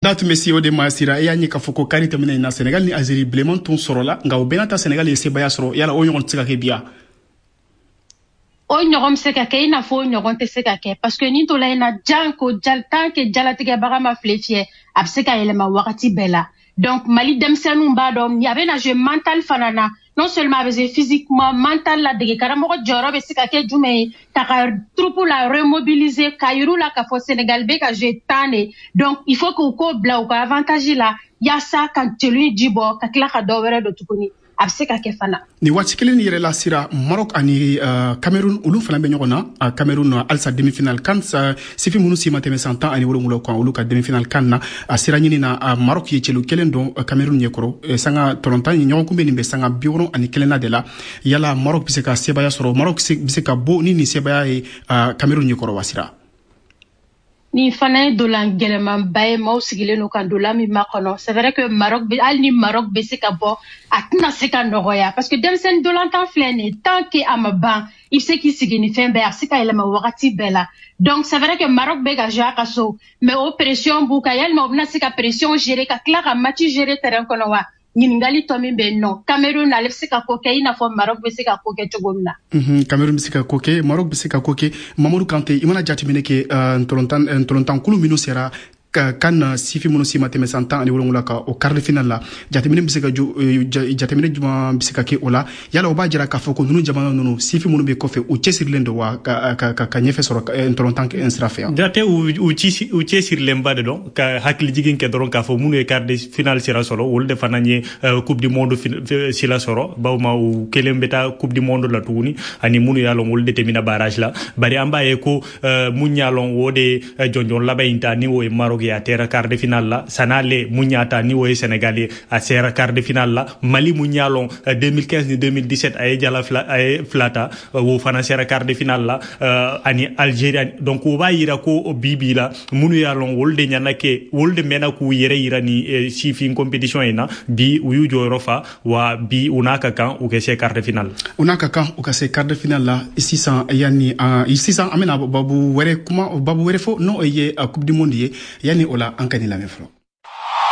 Da tun bɛ se o de ma. Sira, e y'a ye k'a fɔ ko kari tɛmɛnen in na, Senegal ni Algérie, bilenman tun sɔrɔla, nka o bɛɛ n'a ta, Senegal ye sebaya sɔrɔ. Yala o ɲɔgɔn tɛ se ka kɛ bi yan? O ɲɔgɔn bɛ se ka kɛ, i n'a fɔ o ɲɔgɔn tɛ se ka kɛ, parce que nin tola in na, jan ko tant que jalatigɛbaga ma file fiyɛ, a bɛ se ka yɛlɛma wagati bɛɛ la. Donc Mali denmisɛnninw b'a dɔn a bɛ na jouer mental fana na. Non seulement a bɛ jouer physiquement, mental la, dege karamɔgɔ jɔyɔrɔ bɛ se ka kɛ jumɛn ye ka troupe la remobiliser, ka yir'u la k'a fɔ Sénégal bɛ ka jouer tan de. Donc il faut k'u k'o bila u ka avantage la, yaasa ka jeli ji bɔ, ka tila ka dɔ wɛrɛ don tuguni. A bɛ se ka kɛ fana. Nin waati kelen ni yɛrɛ la, Sira, Maroc ani Cameroun, olu fana bɛ ɲɔgɔn na. Cameroun halisa demi-finale kan, sifin minnu si ma tɛmɛ san 17 kan, olu ka demi-finale kan na, a sira ɲini na, Maroc ye celu kelen don Cameroun ɲɛkɔrɔ. Sanga tɔlɔntan ɲɔgɔn kunbɛn nin bɛ sanga 61na de la. Yala Maroc bɛ se ka sebaya sɔrɔ? Maroc bɛ se ka bɔ ni nin sebaya ye Cameroun ɲɛkɔrɔ wa, Sira? Nin fana ye dolan gɛlɛmanba ye, maaw sigilen don ka dolan min makɔnɔ. C'est vrai que Maroc bɛ, hali ni Maroc bɛ se ka bɔ, a tɛna se ka nɔgɔya, parce que denmisɛnnin dolantan filɛ nin ye, tant que a ma ban, i bɛ se k'i sigi ni fɛn bɛɛ, a bɛ se ka yɛlɛma wagati bɛɛ la. Donc c'est vrai que Maroc bɛ ka jouer a ka so, mais o pression b'u kan. Yalima u bɛna se ka pression gérer, ka tila ka match gérer terrain kɔnɔ wa? Ɲininkali tɔ min bɛ yen nɔ, Cameroun, ale bɛ se ka ko kɛ i n'a fɔ Maroc bɛ se ka ko kɛ cogo min na. Cameroun bɛ se ka ko kɛ, Maroc bɛ se ka ko kɛ. Mamadu Kante, i mana jateminɛ kɛ, ntɔlɔntankulu minnu sera ka kan, sifin minnu si ma tɛmɛ san 17 kan, o quart de finale la, jateminɛ bɛ se ka jateminɛ jumɛn bɛ se ka kɛ o la? Yala o b'a jira k'a fɔ ko ninnu jamana ninnu, sifin minnu bɛ kɔfɛ, u cɛsirilen don wa ka ɲɛfɛ sɔrɔ ntɔlɔntan sira fɛ yan? Jate, u cɛsirilenba de don. Ka hakili jigin kɛ dɔrɔn k'a fɔ minnu ye quart de finale sira sɔrɔ, olu de fana ye Coupe du monde sira sɔrɔ, bawma u kelen bɛ taa Coupe du monde la tuguni, ani minnu y'a lɔn, olu de tɛmɛna barrage la. Bari an b'a ye ko mun y'a lɔn, o de jɔnjɔn laban in ta, ni o ye Maroc ye, a tɛra quart de finale la. Sanale mun y'a ta, ni o ye Sénégal ye, a sera quart de finale la. Mali mun y'a lɔn, 2015 ni 2017, a ye jala fila, a ye fila ta, o fana sera quart de finale la, ani Algérie. Donc o b'a yira ko bi bi la, minnu y'a lɔn, olu de ɲana kɛ, olu de mɛnna k'u yɛrɛ yira ni sifin compétition in na. Bi u y'u jɔyɔrɔ fa wa, bi u n'a ka kan u ka se quart de finale. U n'a ka kan u ka se quart de finale la. Sisan, yanni sisan an bɛna babu wɛrɛ kuma, babu wɛrɛ fɔ, n'o ye Coupe du monde ye. Yanni o la, an ka nin lamɛn fɔlɔ.